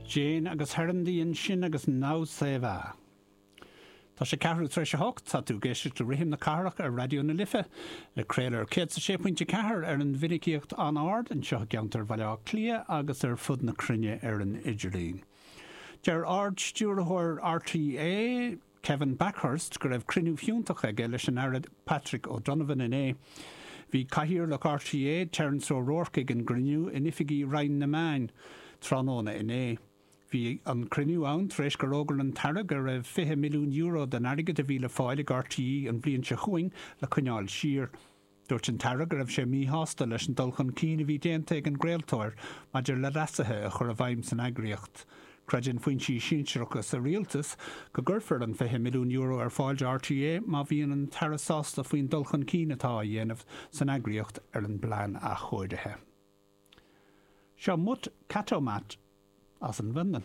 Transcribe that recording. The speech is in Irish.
Jane agus Herendy ansin agus Now Ça Va. Tá sé ceathrú tar éis a hocht, tá tú ag éisteacht le Rithim na Cathrach ar Raidió na Life, ag craoladh ar 106.4 ar an mhinicíocht an-ard anseo i gceantar Bhaile Átha Cliath agus ar fud na cruinne ar an idirlíon. Deir Ard-Stiúrthóir RTÉ, Kevin Bakhurst, go raibh cruinniú fiúntach aige leis an Aire Patrick O'Donovan inné. Bhí Cathaoirleach RTÉ, Terence O'Rourke ag an gcruinniú in oifigí Roinn na Meán tráthnóna inné. Bhí an cruinniú ann tar éis gur fhógair an tAire go raibh €20 milliún den airgead a bhí le fáil ag RTÉ an bhliain seo chugainn le coinneáil siar. Dúirt an tAire go raibh sé míshásta leis an dul chun cinn a bhí déanta ag an gcraoltóir maidir le leasuithe a chur i bhfeidhm san eagraíocht. Creideann foinsí sinsearacha sa Rialtas go gcuirfear an €20 milliún ar fáil do RTÉ má bhíonn an tAire sásta faoin dul chun cinn atá á dhéanamh san eagraíocht ar an bplean athchóirithe. Seo Mutt Katomat as an bhFionlainn.